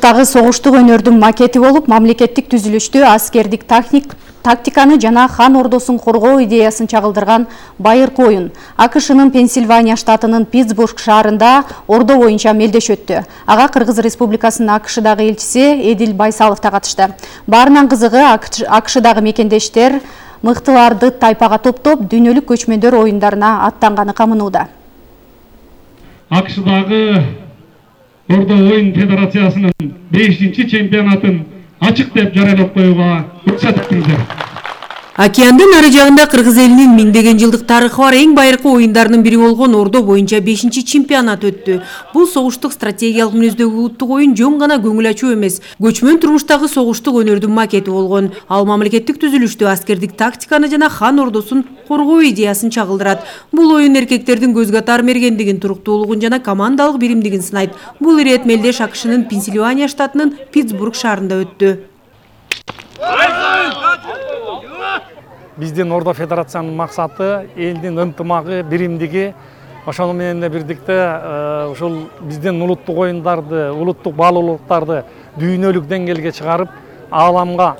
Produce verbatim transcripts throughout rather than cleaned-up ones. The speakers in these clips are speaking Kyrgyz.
турмуштагы согуштук өнөрдүн макети болуп, мамлекеттик түзүлүштү, аскердик тактиканы жана хан ордосун коргоо идеясын чагылдырган байыркы оюн АКШнын Пенсильвания штатынын Питтсбург шаарында ордо боюнча мелдеш өттү. Ага Кыргыз Республикасынын АКШдагы элчиси Эдил Байсалов да катышты. Баарынан кызыгы АКШдагы мекендештер мыктыларды тайпага топтоп дүйнөлүк көчмөндөр оюндарына аттанганы камынууда. АКШдагы Ордо оюн федерациясынын бешинчи чемпионатын ачык деп жарыялап коюуга уруксат этиңиздер. Океандын ары жагында Кыргыз элинин миңдеген жылдык тарыхы бар эң байыркы оюндарынын бири болгон Ордо боюнча бешинчи чемпионат өттү. Бул согуштук стратегиялык мүнөздөгү улуттук оюн жөн гана көңүл ачуу эмес, көчмөн турмуштагы согуштук өнөрдүн макети болгон. Ал мамлекеттик түзүлүштү, аскердик тактиканы жана хан ордосун коргоо идеясын чагылдырат. Бул оюн эркектердин көзгө атар мергендигин, туруктуулугун жана командалык биримдигин сынайт. Бул ирет мелдеш АКШнын Пенсильвания штатынын Питтсбург шаарында өттү. Биздин Ордо федерациянын максаты элдин ынтымагы, биримдиги. Ошону менен бирдикте ушул биздин улуттук оюндарды, улуттук баалуулуктарды дүйнөлүк деңгээлге чыгарып, ааламга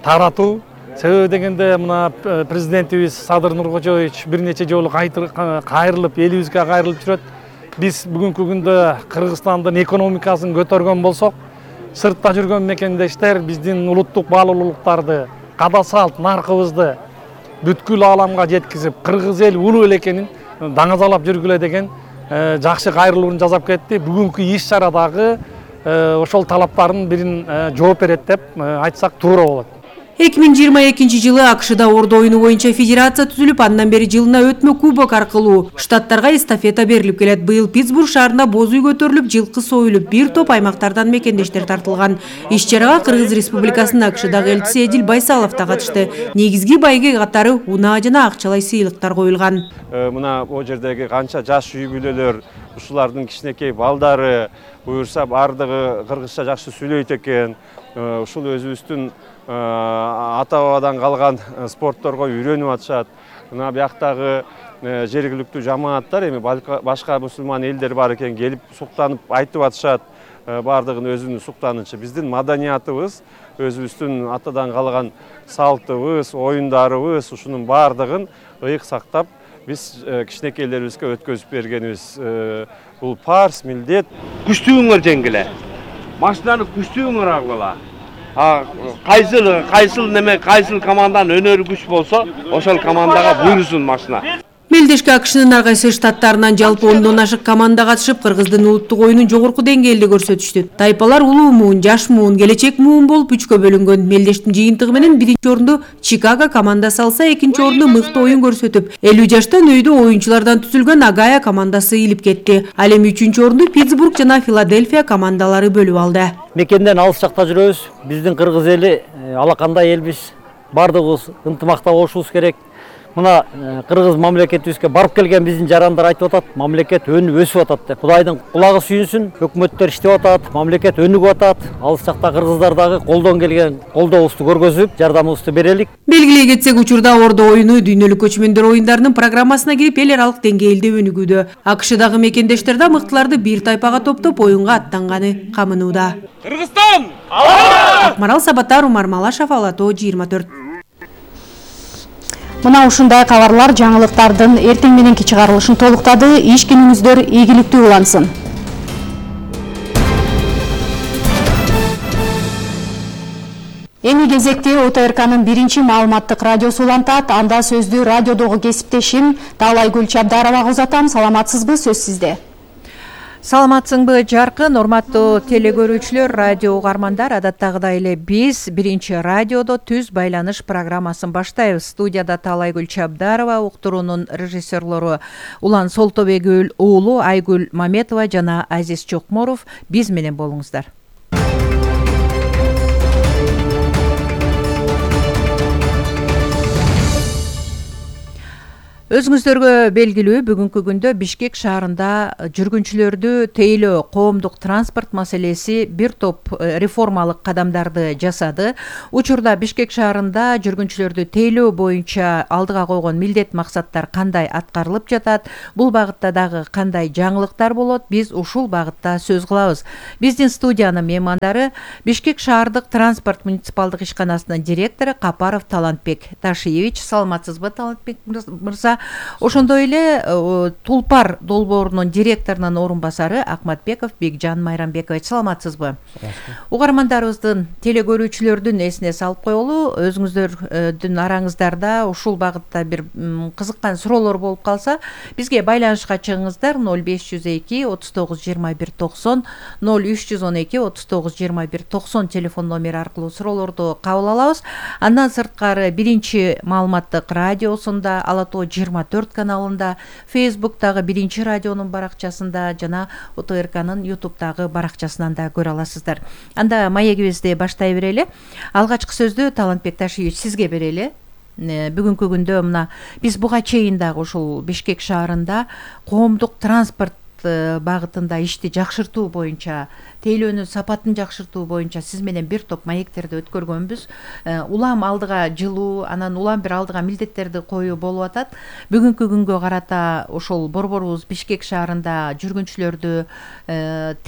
таратуу. Себеби дегенде мына президентибиз Садыр Нуркожоевич бир нече жолу кайрылып, элибизге кайрылып жүрөт. Биз бүгүнкү күндө Кыргызстандын экономикасын көтөргөн болсок, сыртта жүргөн мекендештер биздин улуттук баалуулуктарды, када салт, наркыбызды бүткүл ааламга жеткизип, кыргыз эл улуу эл экенин даңазалап жүргүлө деген жакшы кайрылуун жасап кетти. Бүгүнкү иш-чара дагы ошол талаптардын бирин жооп берет деп айтсак туура болот. эки миң жыйырма экинчи жылы АКШда Ордо оюну боюнча федерация түзүлүп, андан бери жылына өтмө кубок аркылуу штаттарга эстафета берилип келет. Быйыл Питтсбург шаарында боз үй көтөрүлүп, жылкы союлуп, бир топ аймактардан мекендештер тартылган. Иш-чарага Кыргыз Республикасынын АКШдагы элчиси Эдил Байсалов да катышты. Негизги байге катары унаа жана акчалай сыйлыктар коюлган. Мына о жердеги канча жаш үй бүлөлөр, ушулардын кичинекей балдары буюрса бардыгы кыргызча жакшы сүйлөйт экен. Ушул өзүбүздүн ата бабадан калган спортторго үйрөнүп атышат. Мына бияктагы жергиликтүү жамааттар эми башка мусулман элдер бар экен, келип суктанып айтып атышат. Бардыгын өзүнүн суктанычы. Биздин маданиятыбыз, өзүбүздүн атадан калган салтыбыз, оюндарыбыз, ушунун бардыгын ыйык сактап, биз кичинекейлерибизге өткөзүп бергенибиз. Бул парс, милдет. Күчтүүңөр жеңгиле. Машинаны күчтүүңөр алгыла. Кайсыл кайсыл неме кайсыл команданын өнөрү күч болсо, ошол командага буйрусун машина. Мелдешке АКШнын ар кайсы штаттарынан жалпы ондон ашык команда катышып, Кыргыздын улуттук оюнун жогорку деңгээлде көрсөтүштү. Тайпалар улуу муун, жаш муун, келечек муун болуп үчкө бөлүнгөн. Мелдештин жыйынтыгы менен биринчи орунду Чикаго командасы алса, экинчи орунду мыкты оюн көрсөтүп, элүү жаштан өйдө оюнчулардан түзүлгөн Агая командасы ийилип кетти. Ал эми үчүнчү орунду Питтсбург жана Филадельфия командалары бөлүп алды. Мекенден алыс жакта жүрөбүз. Биздин кыргыз эли алакандай элбиз. Бардыгыбыз ынтымакта болушубуз керек. Мына кыргыз мамлекетибизге барып келген биздин жарандар айтып атат, мамлекет өнүп өсүп атат деп. Кудайдын кулагы сүйүнсүн, өкмөттөр иштеп атат, мамлекет өнүгүп атат. Алыс жакта кыргыздар дагы колдон келген колдообузду көргөзүп, жардамыбызды берелик. Белгилей кетсек, учурда Ордо оюну дүйнөлүк көчмөндөр оюндарынын программасына кирип, эл аралык деңгээлде өнүгүүдө. АКШдагы мекендештер да мыктыларды бир тайпага топтоп оюнга аттанганы камынууда. Кыргызстан! Акмарал Сабатар, Умар Малашев, Ала тоо жыйырма төрт. Мына ушундай кабарлар жаңылыктардын эртең мененки чыгарылышын толуктады. Иш күнүңүздөр ийгиликтүү улансын. Эми кезекте О Т Р К'нын биринчи маалыматтык радиосу улантат. Анда сөздү радиодогу кесиптешим Таалайгүл Чабдаровага узатам. Саламатсызбы, сөз сизде. Саламатсыңбы, Жаркын? Урматтуу телекөрүүчүлөр, радио угармандар, адаттагыдай эле биз биринчи радиодо түз байланыш программасын баштайбыз. Студияда Таалайгүл Чабдарова, уктуруунун режиссерлору Улан Солтобек уулу Айгүл Маметова жана Азиз Чокморов биз менен болуңуздар. Өзүңүздөргө белгилүү бүгүнкү күндө Бишкек шаарында жүргүнчүлөрдү тейлөө коомдук транспорт маселеси бир топ реформалык кадамдарды жасады. Учурда Бишкек шаарында жүргүнчүлөрдү тейлөө боюнча алдыга койгон милдет максаттар кандай аткарылып жатат, бул багытта дагы кандай жаңылыктар болот, биз ушул багытта сөз кылабыз. Биздин студиянын меймандары Бишкек шаардык транспорт муниципалдык ишканасынын директору Капаров Талантбек Ташиевич. Саламатсызбы, Талантбек мырза? Ошондой эле Тулпар долбоорунун директорунун орун басары Акматбеков Бекжан Майрамбекович. Саламатсызбы? Угармандарыбыздын, телекөрүүчүлөрдүн эсине салып коелу, өзүңүздөрдүн араңыздарда ушул багытта бир кызыккан суроолор болуп калса, бизге байланышка чыгыңыздар. ноль беш жүз эки отуз тогуз жыйырма бир токсон, ноль үч жүз он эки отуз тогуз жыйырма бир токсон телефон номери аркылуу суроолорду кабыл алабыз. Андан сырткары биринчи маалыматтык радиосунда, Ала Тоо жыйырма төрт каналында, Фейсбуктагы биринчи радионун баракчасында жана О Т Р К'нын Ютубтагы баракчасынан да көрө аласыздар. Анда маегибизди баштай берели. Алгачкы сөздү Талантбек Ташиевич сизге берели. Бүгүнкү күндө мына биз буга чейин дагы ушул Бишкек шаарында коомдук транспорт багытында ишти жакшыртуу боюнча, тейлөөнүн сапатын жакшыртуу боюнча сиз менен бир топ маектерди өткөргөнбүз. Улам алдыга жылуу, анан улам бир алдыга милдеттерди коюу болуп атат. Бүгүнкү күнгө карата ошол борборубуз Бишкек шаарында жүргүнчүлөрдү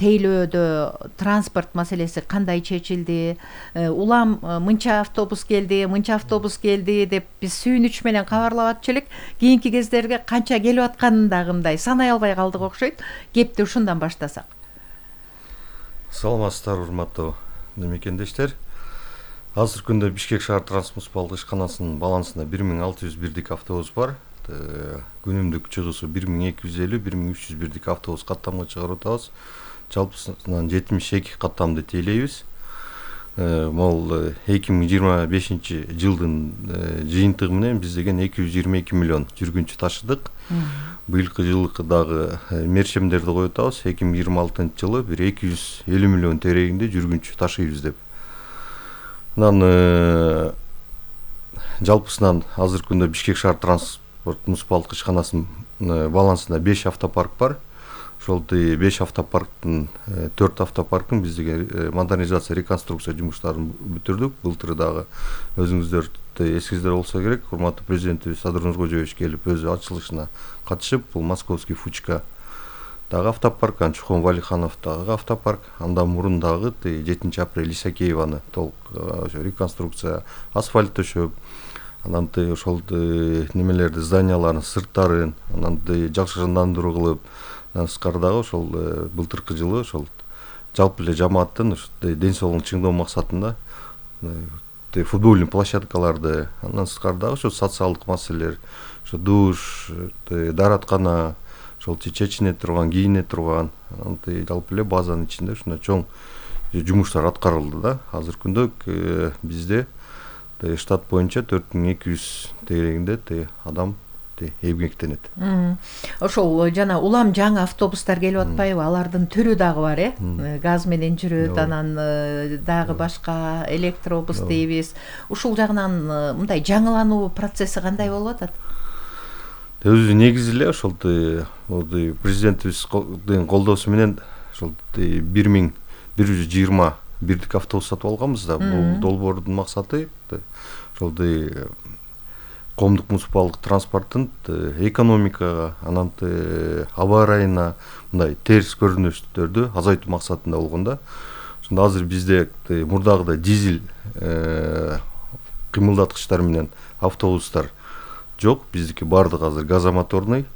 тейлөөдө транспорт маселеси кандай чечилди? Улам мынча автобус келди, мынча автобус келди деп биз сүйүнүч менен кабарлап атчу элек. Кийинки кездерге канча келип атканын дагы мындай санай албай калдык окшойт. Кепти ушундан баштасак. Саламатсыздар, урматтуу мекендештер. Азыр күндө Бишкек шаар транспорт муниципалдык ишканасынын балансында бир миң алты жүз бирдик автобус бар. Күнүмдүк чыгуусу бир миң эки жүз элүү — бир миң үч жүз бирдик автобус каттамга чыгарып атабыз. Жалпысынан жетимиш эки каттамды тейлейбиз. Могул эки миң жыйырма бешинчи жылдын жыйынтыгы менен биз деген эки жүз жыйырма эки миллион жүргүнчү ташыдык. Быйылкы жылкы дагы мерчемдерди коюп атабыз. эки миң жыйырма алтынчы жылы бир эки жүз элүү миллион терегинде жүргүнчү ташыйбыз деп. Анан жалпысынан азыр күндө Бишкек шаар транспорт муниципалдык ишканасынын балансында беш автопарк бар. Ошол беш автопарктын төрт автопаркын биз деген модернизация, реконструкция жумуштарын бүтүрдүк. Былтыр дагы өзүңүздөр эсиңиздер болсо керек, урматтуу президентибиз Садыр Нуркожоевич келип өзү ачылышына катышып, бул Московский Фучка дагы автопарк, Чухон Валиханов дагы автопарк, андан мурун дагы жетинчи апрель Исакееваны толук реконструкция, асфальт төшөп, анан ошол немелерди, зданиялардын сырттарын анан жакшырындандыруу кылып, сырткары дагы ошол былтыркы жылы ошол жалпы эле жамааттын ден соолугун чыңдоо максатында футбольный площадкаларды, андан сырткары дагы ошо социалдык маселелер, ошо душ, даараткана, ошол чечине турган, кийине турган, жалпы эле базанын ичинде ушундай чоң жумуштар аткарылды да. Азыр күндө бизде штат боюнча төрт миң эки жүз тегерегинде адам эмгектенет. Ошол жана улам жаңы автобустар келип атпайбы? Алардын түрү дагы бар, э? Газ менен жүрөт, анан дагы башка электробус дейбиз. Ушул жагынан мындай жаңылануу процесси кандай болуп атат? Өзү негизи эле ошол президентибиздин колдоосу менен ошол бир миң бир жүз жыйырма бирдик автобус сатып алганбыз да. Бул долбоордун максаты ошол коомдук муниципалдык транспорттун экономикага, анан аба ырайына мындай терс көрүнүштөрдү азайтуу максатында болгон да. Ошондо азыр бизде мурдагыдай дизель кыймылдаткычтар менен автобустар жок. Биздики бардыгы азыр газомоторный.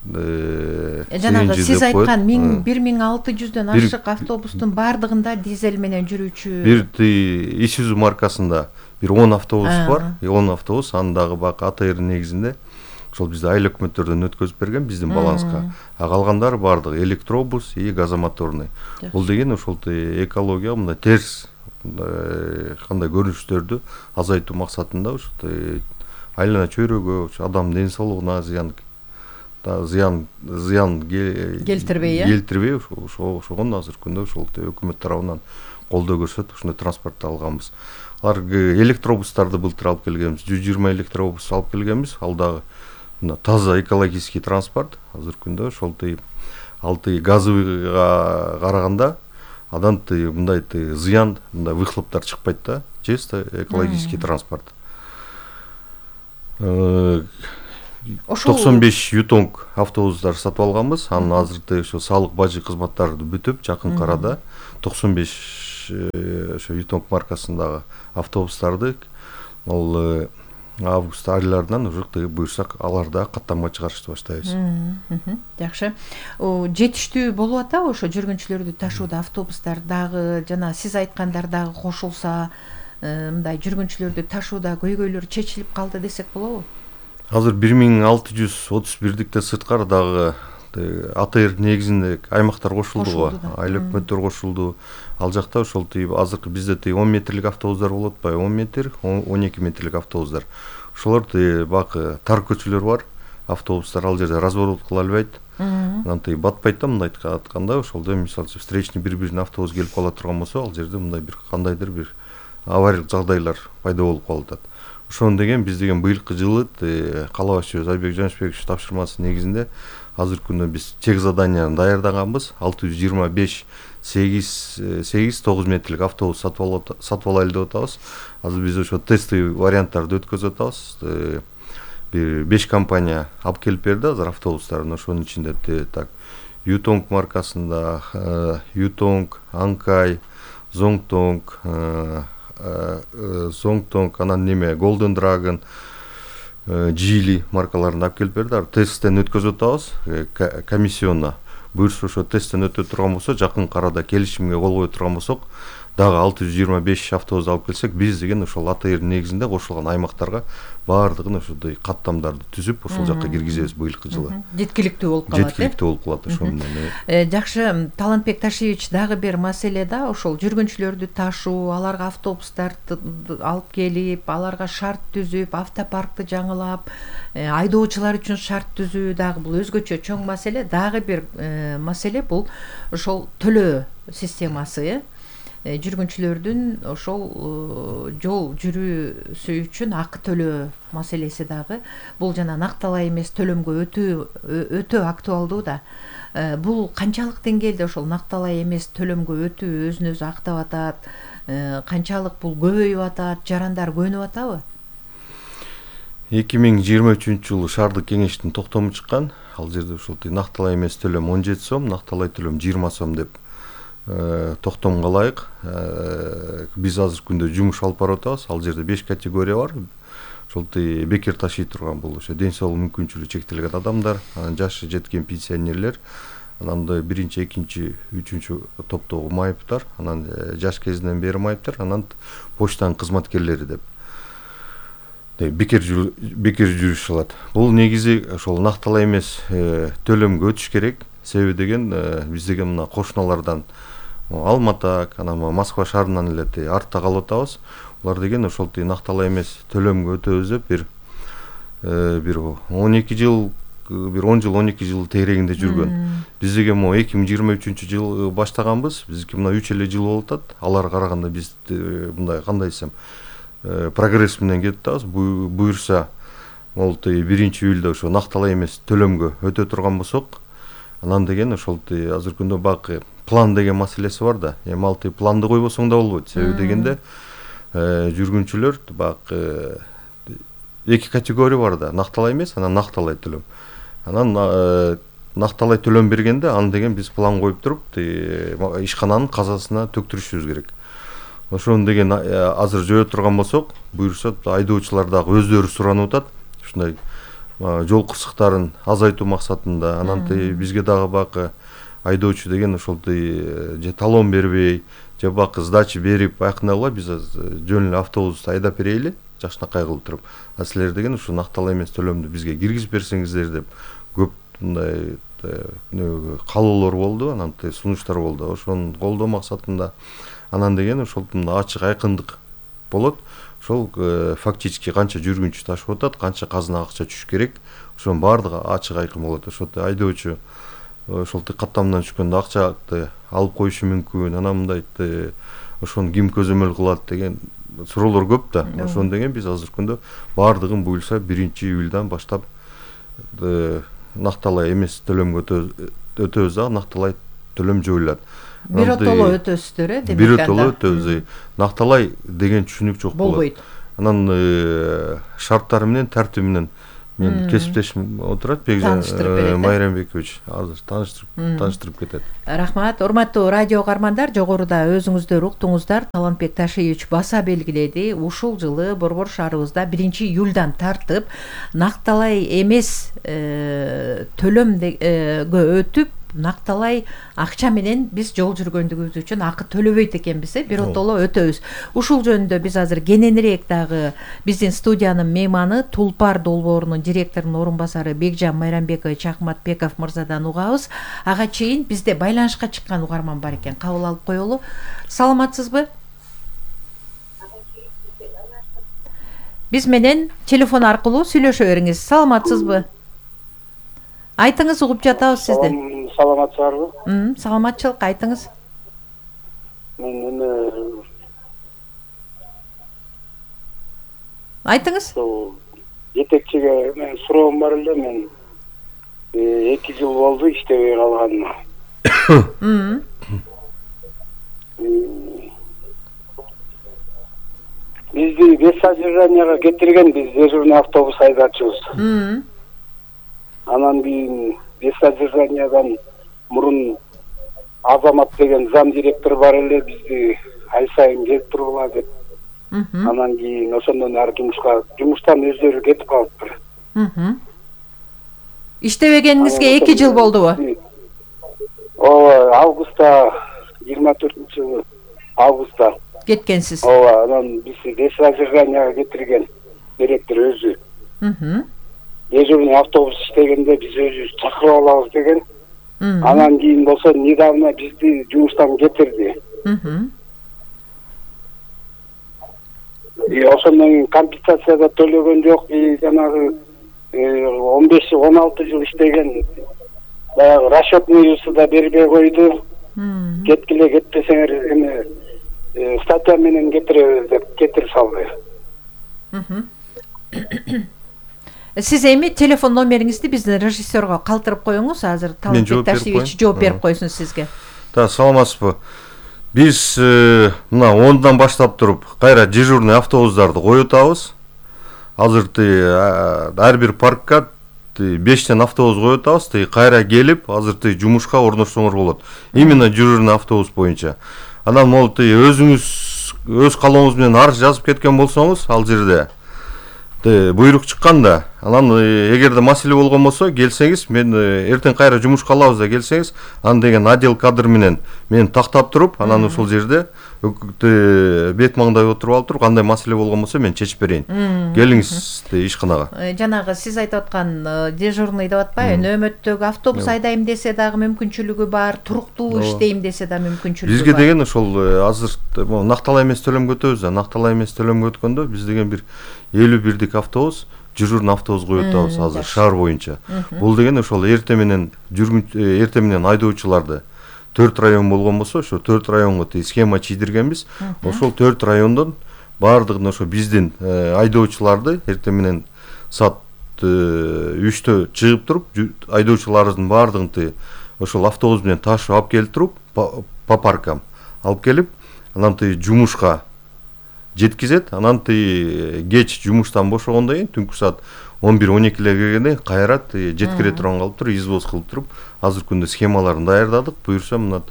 Жанагы сиз айткан бир миң алты жүздөн ашык автобустун бардыгында дизель менен жүрүүчү. Бир Isuzu маркасында бир он автобус бар. он автобус, анын дагы бак А Т Р негизинде ошол бизде айыл өкмөттөрдөн өткөзүп берген биздин баланска. А калгандары бардыгы электробус и газомоторный. Бул деген ошол экология мындай терс кандай көрүнүштөрдү азайтуу максатында ошо айлана чөйрөгө, адам ден соолугуна зыян зыян зыян келтирбей, келтирбей ошогон азыр күндө ошол өкмөт тарабынан колдоо көрсөтүп ушундай транспортду алганбыз. Алар электробустарды былтыр алып келгенбиз, жүз жыйырма электробус алып келгенбиз. Ал дагы мына таза экологический транспорт азыркы күндө ошол ал газовыйга караганда андан мындай зыян мындай выхлоптор чыкпайт да, чисто экологический транспорт. токсон беш ютонг автобустар сатып алганбыз. Анын азыркы ошо салык бажы кызматтарды бүтүп, жакын арада токсон беш ошо ютонг маркасындагы автобустарды ал август айларынан уже буйрсак аларда каттамга чыгарышты баштайбыз. Жакшы. Жетиштүү болуп атабы ошо жүргүнчүлөрдү ташууда автобустар дагы жана сиз айткандар дагы кошулса, мындай жүргүнчүлөрдү ташууда көйгөйлөр чечилип калды десек болобу? Азыр бир миң алты жүз отуз бирдикте сырткары дагы АТР негизинде аймактар кошулду го, айыл өкмөттөр кошулду. Ал жакта ошол азыркы бизде он метрлик автобустар болот атпайбы, он метр, он эки метрлик автобустар. Ошолор бак тар көчөлөр бар, автобустар ал жерде разворот кыла албайт. Анан батпайт да, мындай айтканда, ошолдо мисалы үчүн встречный бир-бирин автобус келип кала турган болсо, ал жерде мындай бир кандайдыр бир авариялык жагдайлар пайда болуп калып атат. Ошону деген биз деген быйылкы жылы кала башчыбыз Айбек Жанышбекович тапшырмасы негизинде азыркы күндө биз чек заданияны даярдаганбыз. алты жүз жыйырма беш сегиз тогуз метрлик автобус сатып алайлы деп атабыз. Азыр биз ошо тестовый варианттарды өткөзүп атабыз. Бир беш компания алып келип берди азыр автобустарын. Ошонун ичинде так Ютонг маркасында Ютонг, Анкай, Зонгтонг, Зонгтонг, анан неме Golden Dragon, Жили маркаларын алып келип берди. Тесттен өткөзүп атабыз комиссионно. Буюрса ошо тесттен өтө турган болсо, жакын арада келишимге кол кое турган болсок, дагы алты жүз жыйырма беш автобус алып келсек, биз деген ошол АТР негизинде кошулган аймактарга баардыгын ошондой каттамдарды түзүп, ошол жакка киргизебиз быйылкы жылы. Жеткиликтүү болуп калат. Жеткиликтүү болуп калат ошол менен. Жакшы, Талантбек Ташиевич, дагы бир маселе да, ошол жүргүнчүлөрдү ташуу, аларга автобустарды алып келип, аларга шарт түзүп, автопаркты жаңылап, айдоочулар үчүн шарт түзүү дагы бул өзгөчө чоң маселе. Дагы бир маселе бул ошол төлөө системасы. Жүргүнчүлөрдүн ошол жол жүрүүсү үчүн акы төлөө маселеси дагы бул жана накталай эмес төлөмгө өтүү өтө актуалдуу да. Бул канчалык деңгээлде ошол накталай эмес төлөмгө өтүү өзүн өзү актап атат, канчалык бул көбөйүп атат, жарандар көнүп атабы? эки миң жыйырма үчүнчү жылы шаардык кеңештин токтому чыккан. Ал жерде ошол накталай эмес төлөм он жети сом, накталай төлөм жыйырма сом деп токтомго ылайык биз азыркы күндө жумуш алып барып атабыз. Ал жерде беш категория бар. Ошол бекер ташый турган бул ошо ден соолук мүмкүнчүлүгү чектелген адамдар, анан жашы жеткен пенсионерлер, анан биринчи, экинчи, үчүнчү топтогу майыптар, анан жаш кезинен бери майыптар, анан почтанын кызматкерлери деп бекер бекер жүрүш алат. Бул негизи ошол накталай эмес төлөмгө өтүш керек. Себеби деген биз деген мына кошуналардан Алматы, анан Москва шаарынан эле артта калып атабыз. Улар деген ошол накталай эмес төлөмгө өтөбүз деп бир бир он эки жыл, бир он жыл, он эки жыл тегерегинде жүргөн. Биз деген могу эки миң жыйырма үчүнчү жылы баштаганбыз. Биздики мына үч эле жыл болуп атат. Аларга караганда биз мындай кандай десем прогресс менен кетип атабыз. Буюрса, могул биринчи июлда ошо накталай эмес төлөмгө өтө турган болсок, анан деген ошол азыркы күндө бак план деген маселеси бар да. Эми ал планды койбосоң да болбойт. Себеби дегенде жүргүнчүлөр бак эки категория бар да. Накталай эмес, анан накталай төлөм. Анан накталай төлөм бергенде аны деген биз план коюп туруп, ишкананын казасына төктүрүшүбүз керек. Ошону деген азыр жөө турган болсок, буюрса айдоочулар дагы өздөрү суранып атат. Ушундай жол кырсыктарын азайтуу максатында, анан бизге дагы бак айдоочу деген ошол же талон бербей, же бак сдача берип айкындагыла биз жөн эле автобусту айдап берейли, жакшынакай кылып туруп. А силер деген ушу накталай эмес төлөмдү бизге киргизип берсеңиздер деп көп мындай каалоолор болду, анан сунуштар болду. Ошону колдоо максатында анан деген ошол ачык айкындык болот. Ошол фактически канча жүргүнчү ташып атат, канча казынага акча түшүш керек, ошонун баардыгы ачык айкын болот. Ошол айдоочу ошол каттамдан түшкөндө акчаны алып коюшу мүмкүн, анан мындай ошону ким көзөмөл кылат деген суроолор көп да. Ошону деген биз азыркы күндө баардыгын буюрса биринчи июлдан баштап накталай эмес төлөмгө өтөбүз дагы накталай төлөм жойулат. Биротоло өтөсүздөр э демек. Биротоло өтөбүз. Накталай деген түшүнүк жок болот. Болбойт. Анан шарттары менен, тартиби менен мен кесиптешим отурат Бекжан Майрамбекович азыр тааныштырып тааныштырып кетет. Рахмат. Урматтуу радио каармандар, жогоруда өзүңүздөр уктуңуздар. Талантбек Ташиевич баса белгиледи. Ушул жылы Борбор шаарыбызда биринчи июлдан тартып накталай эмес төлөмгө өтүп накталай акча менен биз жол жүргөндүгүбүз үчүн акы төлөбөйт экенбиз, э биротоло өтөбүз. Ушул жөнүндө биз азыр кененирээк дагы биздин студиянын мейманы Тулпар долбоорунун директорунун орун басары Бекжан Майрамбекович Акматбеков мырзадан угабыз. Ага чейин бизде байланышка чыккан угарман бар экен. Кабыл алып коелу. Саламатсызбы? Биз менен телефон аркылуу сүйлөшө бериңиз. Саламатсызбы? Айтыңыз, угуп жатабыз сизди. Саламатсыздарбы? Саламатчылык, айтыңыз. Мен эме Айтыңыз. Жетекчиге мен суроом бар эле, мен эки жыл болду иштебей калганыма. Бизди бес содержанияга кетирген, биз дежурный автобус айдачыбыз. Анан кийин бес содержаниядан мурун Азамат деген зам директор бар эле, бизди ай сайын келип тургула деп. Анан кийин ошондон ары жумушка жумуштан өздөрү кетип калыптыр. Иштебегениңизге эки жыл болдубу? Ооба, августта жыйырма төртүнчү жылы августта кеткенсиз. Ооба, анан бизди бес содержанияга кетирген директор өзү. Дежурный автобус иштегенде биз өзүбүз чакырып алабыз деген. Анан кийин болсо недавно бизди жумуштан кетирди. И ошондон кийин компенсация да төлөгөн жок, жанагы он беш он алты жыл иштеген баягы расчетныйсы да бербей койду. Кеткиле, кетпесеңер эме статья менен кетиребиз деп кетирип салды. Сиз эми телефон номериңизди биздин режиссерго калтырып коюңуз, азыр Талантбек Ташиевич жооп берип койсун сизге. Да, саламатсызбы. Биз мына ондан баштап туруп кайра дежурный автобустарды коюп атабыз. Азыр ар бир паркка бештен автобус коюп атабыз. Кайра келип, азыр жумушка орношсоңор болот. Именно дежурный автобус боюнча. Анан могу өзүңүз өз калооңуз менен арыз жазып кеткен болсоңуз, ал жерде буйрук чыкканда, анан эгерде маселе болгон болсо, келсеңиз, мен эртең кайра жумушка алабыз да келсеңиз, аны деген отдел кадр менен мен тактап туруп, анан ошол жерде бет маңдай отуруп алып туруп, кандай маселе болгон болсо мен чечип берейин. Келиңиз ишканага. Жанагы сиз айтып аткан дежурный деп атпайбы, нөөмөттөгү автобус айдайм десе дагы мүмкүнчүлүгү бар, туруктуу иштейм десе да мүмкүнчүлүгү бар. Бизге деген ошол азыр накталай эмес төлөмгө өтөбүз да, накталай эмес төлөмгө өткөндө биз деген бир элүү бирдик автобус, дежурный автобус коюп атабыз азыр шаар боюнча. Бул деген ошол эрте менен жүргүн эрте менен айдоочуларды төрт район болгон болсо, ошо төрт районго схема чийдиргенбиз. Ошол төрт райондон баардыгын ошо биздин айдоочуларды эрте менен саат үчтө чыгып туруп, айдоочуларыбыздын баардыгын ошол автобус менен ташып алып келип туруп, по паркам алып келип, анан жумушка жеткизет. Анан кеч жумуштан бошогондон кийин түнкү саат он бир он экиге келгенде кайра жеткире турган калып туруп, извоз кылып туруп, азыр күндө схемаларын даярдадык. Буюрса мына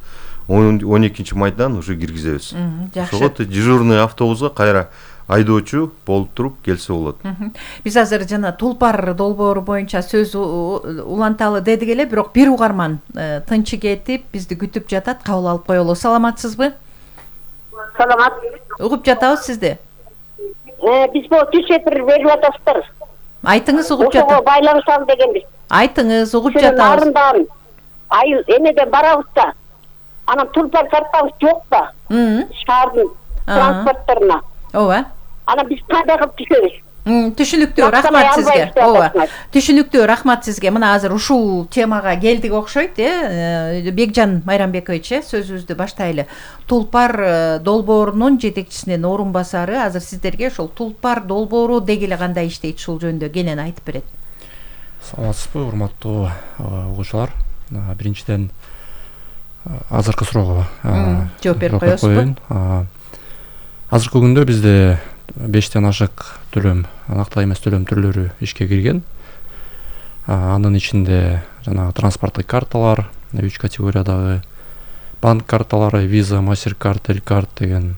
он экинчи майдан уже киргизебиз. Ошого дежурный автобуска кайра айдоочу болуп туруп келсе болот. Биз азыр жана Тулпар долбоору боюнча сөз уланталы дедик эле, бирок бир угарман тынчы кетип бизди күтүп жатат. Кабыл алып коелу. Саламатсызбы? Саламат. Угуп жатабыз сизди. Э, биз бул түшөтүр берип атасыздар. Айтыңыз, угуп жатабыз. Ошого байланышалы дегенбиз. Айтыңыз, угуп жатабыз. Арындан айыл эмеден барабыз да. Анан Тулпар картабыз жок да. Шаардын транспортторуна. Ооба. Анан биз кандай кылып түшөбүз? Түшүнүктүү, рахмат сизге. Ооба. Түшүнүктүү, рахмат сизге. Мына азыр ушул темага келдик окшойт, э? Бекжан Майрамбекович, сөзүбүздү баштайлы. Тулпар долбоорунун жетекчисинин орун басары азыр сиздерге ошол Тулпар долбоору деги эле кандай иштейт, ушул жөнүндө кенен айтып берет. Саламатсызбы, урматтуу угуучулар. Биринчиден азыркы суроого жооп берип коесузбу? Азыркы күндө бизде бештен ашык төлөм, анакталуу эмес төлөм түрлөрү ишке кирген. Анын ичинде жанагы транспорттук карталар, үч категориядагы банк карталары, Visa, MasterCard, Elcard деген